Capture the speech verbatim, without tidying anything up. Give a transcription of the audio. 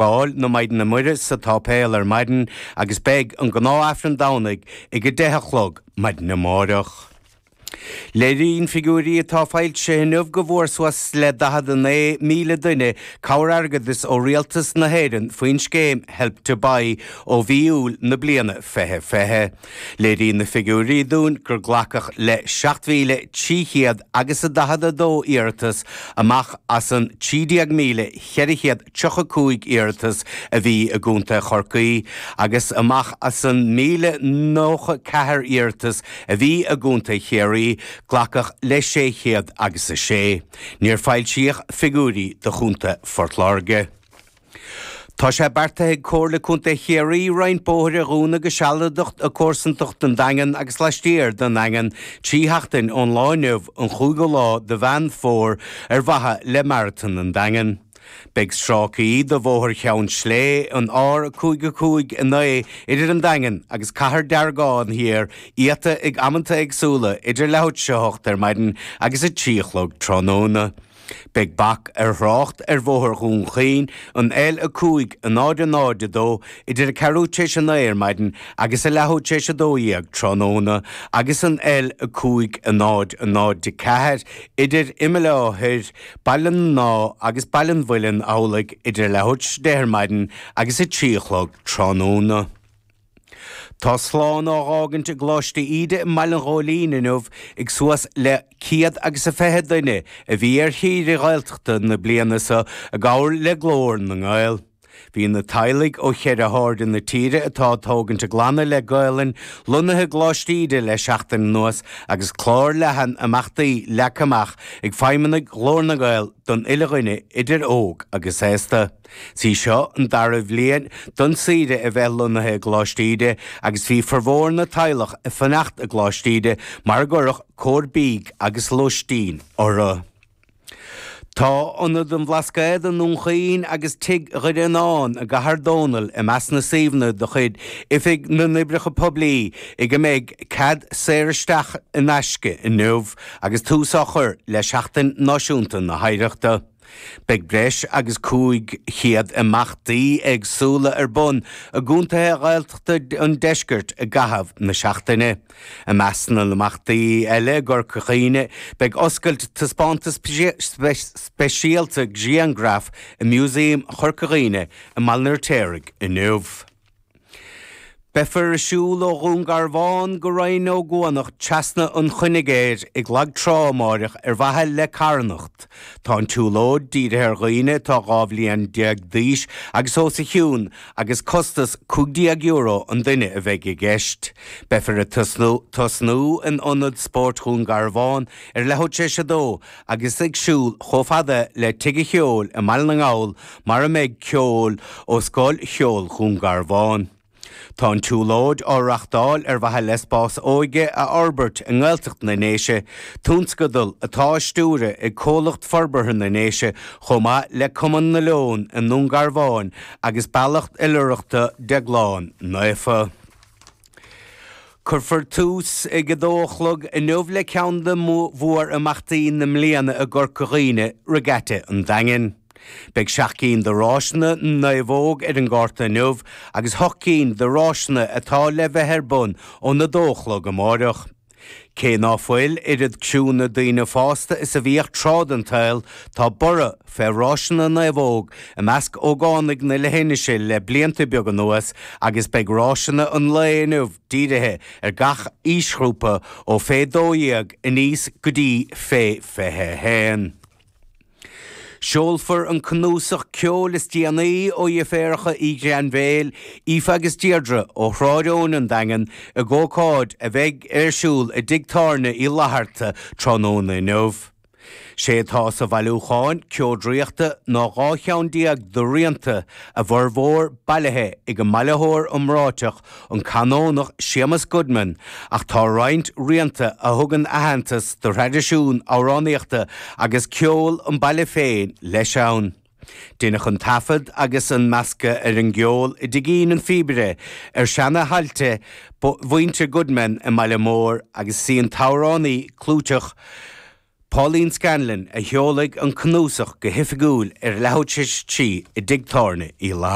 Báil na Maighdine Muire sa tsáipéal ar maidin agus beidh an gnáth-Aifreann Domhnaigh ag a deich a chlog maidin amárach. Léiríonn figiúirí atá foilsithe inniu go bhfuair suas le daichead a naoi míle duine cabhair airgeadais ó Rialtas na hÉireann faoin scéim Help to Buy ó mhí Iúil na bliana fiche fiche. Léiríonn na figiúirí dúinn gur glacadh le seacht mhíle trí chéad agus a daichead a dó iarratas amach as an trí déag míle cheithre chéad tríocha cúig iarratas a bhí i gContae Chorcaí agus amach as an míle nócha ceathair iarratas a bhí i gContae Chiarraí. Glacadh le sé chéad agus a sé. Níor foilsíodh figiúirí do Chontae Phort Láirge. Tá sé beartaithe ag Comhairle Contae Chiarraí roinnt bóithre a dhúnadh go sealadach i gcomharsantacht an Daingin agus laistiar den Daingean trí sheachtain ón lá inniu, an chúigiú lá de Mheán Fómhair, ar mhaithe le Maratón an Daingin. Beidh stráicí de Bhóthar Cheann Slé, an R cúig a cúig a naoi, idir an Daingean agus Cathair Deargán Thiar iata ag amanta éagsúla idir leathuair tar éis a hocht ar maidin agus a trí a chlog tráthnóna. Beidh bac ar thrácht ar Bhóthar Dhún Chaoin, an L a cúig a náid a náid a dó, idir a ceathrú tar éis a naoi ar maidin agus a leathuair tar éis a dó dhéag tráthnóna agus an L a cúig a náid a náid a ceathair idir Imeall Átha Thoir, Baile na nÁdh agus Baile an Mhuilinn amhlaidh idir leathuair tar éis a deich ar maidin agus a trí a chlog tráthnóna. Tá slán á dh'fhágaint i gColáiste Íde i mBaile an Ghóilín inniu ag suas le céad agus a fiche duine a bhí ar shaoire Ghaeltachta na bliana seo i gcomhar le Glór na nGael. Bhí na teaghlaigh ó cheithre hairde na tíre atá ag tógaint a gclanna le Gaelainn lonnaithe i gColáiste Íde le seachtain anuas agus clár leathan imeachtaí leagtha amach ag feidhmeannaigh Ghlór na nGael don uile dhuine idir óg agus aosta. Is í seo an dara bhliain don saoire a bheith lonnaithe i gColáiste Íde agus bhí formhór na teaghlach ag fanacht i gColáiste Íde mar a gcuireadh cóir bídh agus lóistín orthu. Tá Ionad an Bhlascaoid i nDún Chaoin agus Tigh Dhoire Fhíonáin i gCathair Dónall i measc na suíomhanna de chuid Oifig na nOibreacha Poiblí ag a mbeidh cead saor isteach in aisce inniu agus tús á chur le Seachtain Náisiúnta na hOidhreachta. Beidh breis agus cúig chéad imeachtaí éagsúla ar bun i gcontaetha Ghaeltachta an deiscirt i gcaitheamh na seachtaine. I measc na n-imeachtaí eile i gCorca Dhuibhne beidh oscailt taispeántas speisialta grianghraf i Músaem Chorca Dhuibhne i mBaile an Fheirtéaraigh inniu. Beifear ag siúl ó Dhún Garbhán go Rinn Ó gCuanach trasna an Chuinigéir ag Lag Trá amáireach ar mhaithe le carthanacht. Tá an tsiúlóid dírithe ar dhaoine atá dhá bhliain déag d'aois agus os a chionn agus costas cúig déag euro an duine a bheidh i gceist. Beifear ag tosnú tosnú in Ionad Spóirt Dhún Garbhán ar leathuair tar éis a dó agus ag siúl chomh fada le Tigh an Cheoil i mBaile na nGall mar a mbeidh ceol ó Scoil Cheoil Dhún Garbhán. Tá an tsiúlóid á reáchtáil ar mhaithe le spás óige a fhorbairt i nGaeltacht na nDéise, tionscadal atá á stiúradh ag Comhlacht Forbartha na nDéise chomh maith le Cumann na Leon i nDún Garbhán agus Bealach Oilithreachta Déaglán Naofa. Cuirfear tús ag a dó a chlog inniu le ceann de mhór-imeachtaí na mbliana i gCorca Dhuibhne, Regatta an Daingin. Beidh seacht gcinn de ráiseanna naomhóg ar an gcárta inniu agus hocht gcinn de ráiseanna atá le bheith ar bun ón a dó a chlog amáireach. Cé ná fuil oiread criúnna daoine fásta is a bhíodh tráth den tsaol, tá borradh fé ráiseanna naomhóg i measc ógánaigh na leithinise le blianta beaga anuas agus beidh ráiseanna an lae inniu dírithe ar gach aoisghrúpa ó fé dó dhéag aníos go dtí fé fiche a haon. Seolfar an cnuasach ceoil is déanaí ó dheirféaracha Uí Ghrainbhéil, Aoife agus Deirdre ó Shráid Eoin an Daingean ag ócáid a bheidh ar siúl i dTigh Tábhairne Uí Fhlatharta tráthnóna inniu. Sé atá sa bhailiúchán ceol draíochta ná dhá cheann déag de rianta, a bhformhór bailithe ag an mbailitheoir iomráiteach, an Canónach Séamus Goodman, ach tá roinnt rianta a thugann aitheantas do thraidisiún amhránaíochta agus ceoil an bhaile féin leis ann. Deineadh an taifead agus an meascadh ar an gceol i dtigín an phíobaire ar seana-thailte mhuintir Goodman i mBaile Móir agus is í an t-amhránaí clúiteach Pauline Scanlon a sheolfaidh an cnuasach go hoifigiúil ar leathuair tar éis a trí i dTigh Tábhairne Uí Fhlatharta.